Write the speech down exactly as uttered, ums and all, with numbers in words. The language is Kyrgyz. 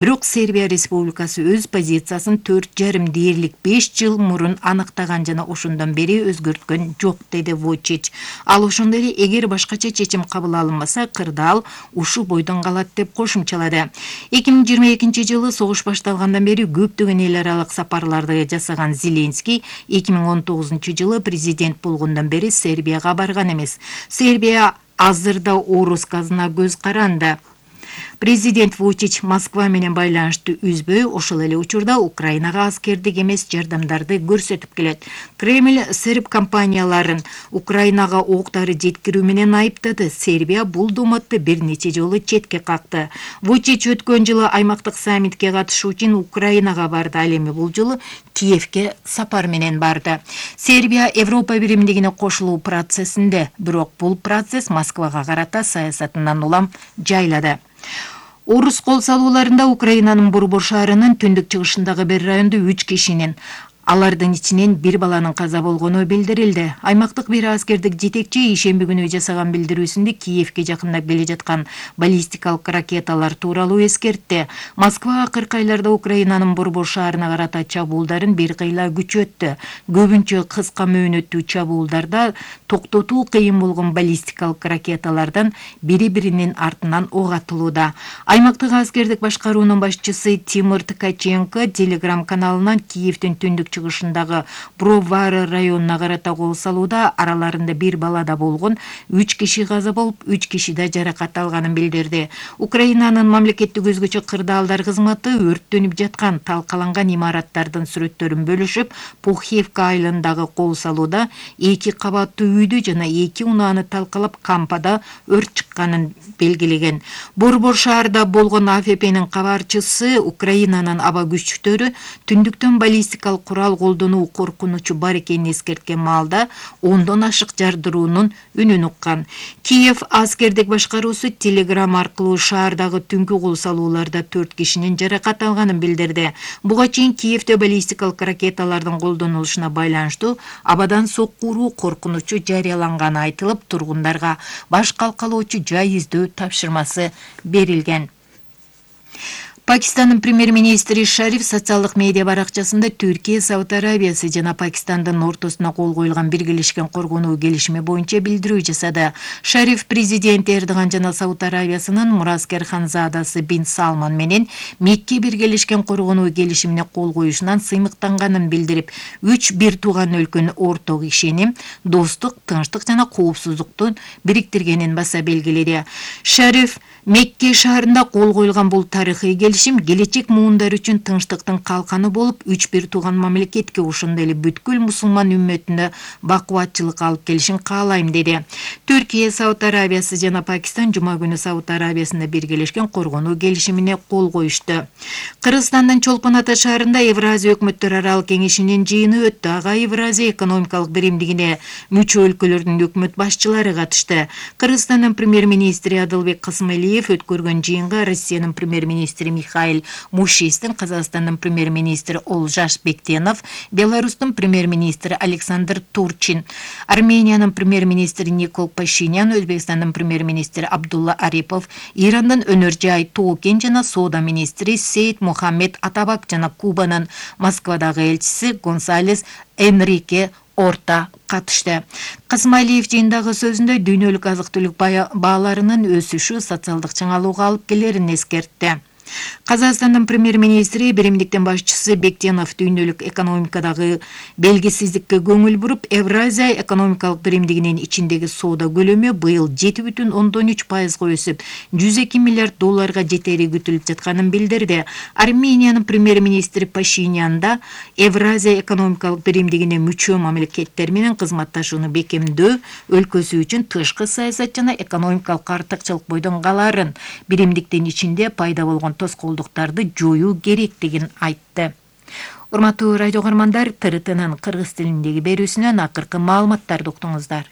Бирок Сербия Республикасы өз позициясын төрт жарым дээрлик беш жыл мурун аныктаган жана ошондон бери өзгөрткөн жок, деди Вучич. Ал ошондой эле эгер башкача чечим кабыл алынбаса, кырдаал ушу бойдон калат деп кошумчалады. эки миң жыйырма экинчи жылы согуш башталгандан бери көптөгөн эл аралык сапарларды жасаган Зеленский эки миң он тогузунчу жылы президент болгондон бери Сербияга барган эмес. Сербия азырда орус газына көз каранды. Президент Вучич Москва менен байланышты үзбөй, ошол эле учурда Украинага аскердик эмес жардамдарды көрсөтүп келет. Кремль серб компанияларын Украинага октары жеткирүү менен айыптады. Сербия бул домотту бир нече жолу четке какты. Вучич өткөн жылы аймактык саммитке катышуу үчүн Украинага барды, ал эми бул жолу Киевке сапар менен барды. Сербия Европа биримдигине кошулуу процессинде, бирок бул процесс Москвага карата саясатынан улам жайлады. Орус кол салууларында Украинанын Борбор шаарынын түндүк чыгышындагы бир райондо үч кишинин, алардын ичинен бир баланын каза болгону билдирилди. Аймактык бир аскердик жетекчи ишемби күнү жасаган билдирүүсүндө Киевке жакындап келе жаткан баллистикалык ракеталар тууралуу эскертти. Москва акыркы айларда Украинанын Борбор шаарына карата чабуулдарын бир кыйла күчөттү. Көбүнчө кыска мөөнөттүү чабуулдарда токтотуу кыйын болгон баллистикалык ракеталардан бири-биринин артынан ок атылууда. Аймактык аскердик башкаруунун башчысы Тимур Ткаченко Телеграм каналынан Киевдин түндүк чыгышындагы Бровары районуна карата кол салууда, араларында бир бала да болгон, үч киши каза болуп, үч киши да жаракат алганын билдирди. Украинанын мамлекеттик өзгөчө кырдаалдар кызматы өрттөнүп жаткан талкаланган имараттардын сүрөттөрүн бөлүшүп, Пухивка айылындагы кол салууда эки кабаттуу үйдү жана эки унааны талкалап, кампада өрт чыкканын белгилеген. Борбор шаарда болгон А Ф П'нин кабарчысы Украинанын аба күчтөрү түндүктөн баллистикалык курал колдонуу коркунучу бар экенин эскерткен маалда ондон ашык жардыруунун үнүн уккан. Киев аскердик башкаруусу Телеграм аркылуу шаардагы түнкү кол салууларда төрт кишинин жаракат алганын билдирди. Буга чейин Киевде баллистикалык ракеталардын колдонулушуна байланыштуу абадан сокку уруу коркунучу жарыяланганы айтылып, тургундарга баш калкалоочу жай издөө тапшырмасы берилген. Пакистандын премьер-министри Шариф социалдык медиа баракчасында Түркия, Сауд Арабиясы жана Пакистандын ортосуна кол коюлган биргелешкен коргонуу келишими боюнча билдирүү жасады. Шариф президент Эрдоган жана Сауд Арабиясынын мураскер ханзадасы Бин Салман менен Мекке биргелешкен коргонуу келишимине кол коюшунан сыймыктанганын билдирип, үч бир тууган өлкөнүн орток ишеним, достук, тынчтык жана коопсуздукту бириктиргенин баса белгиледи. Шариф Мекке шаарында кол коюлган бул тарыхый келишим келечек муундар үчүн тынчтыктын калканы болуп, үч бир тууган мамлекетке, ошондой эле бүткүл мусулман үммөтүнө бакубатчылык алып келишин каалайм, деди. Түркия, Сауд Арабиясы жана Пакистан жума күнү Сауд Арабиясында биргелешкен коргонуу келишимине кол коюшту. Кыргызстандын Чолпон Ата шаарында Евразия өкмөттөр аралык кеңешинин жыйыны өттү. Ага Евразия экономикалык биримдигине мүчө өлкөлөрдүн өкмөт башчылары катышты. Кыргызстандын премьер-министри Адылбек Касымалиев өткөргөн жыйынга Россиянын премьер-министри Михаил Мушистин, Казакстандын премьер-министри Олжаш Бектенов, Беларустун премьер-министри Александр Турчин, Армениянын премьер-министри Никол Пашинян, Өзбекстандын премьер-министри Абдулла Арипов, Ирандын өнөр-жай Токен жана соода министри Сейд Мухаммед Атабак жана Кубанын Москвадагы элчиси Гонсалес Энрике орта катышты. Касымалиев жыйындагы сөзүндө дүйнөлүк азык-түлүк бааларынын өсүшү социалдык чыңалууга алып келерин эскертти. Казакстандын премьер-министри биримдиктин башчысы Бектенов дүйнөлүк экономикадагы белгисиздикке көңүл буруп, Евразия экономикалык биримдигинин ичиндеги соода көлөмү быйыл жети бүтүн ондон үч пайызга өсүп, жүз эки миллиард долларга жетери күтүлүп жатканын билдирди. Армениянын премьер-министри Пашинян да Евразия экономикалык биримдигине мүчө мамлекеттер менен кызматташууну бекемдөө өлкөсү үчүн тышкы саясат жана экономикалык артыкчылык бойдон каларын, биримдиктин ичинде пайда болгон тоскоолдуктарды жоюу керектигин айтты. Урматтуу радио көрөрмандар, Т Р Т'нын кыргыз тилиндеги берүүсүнөн акыркы маалыматтарды уктуңуздар.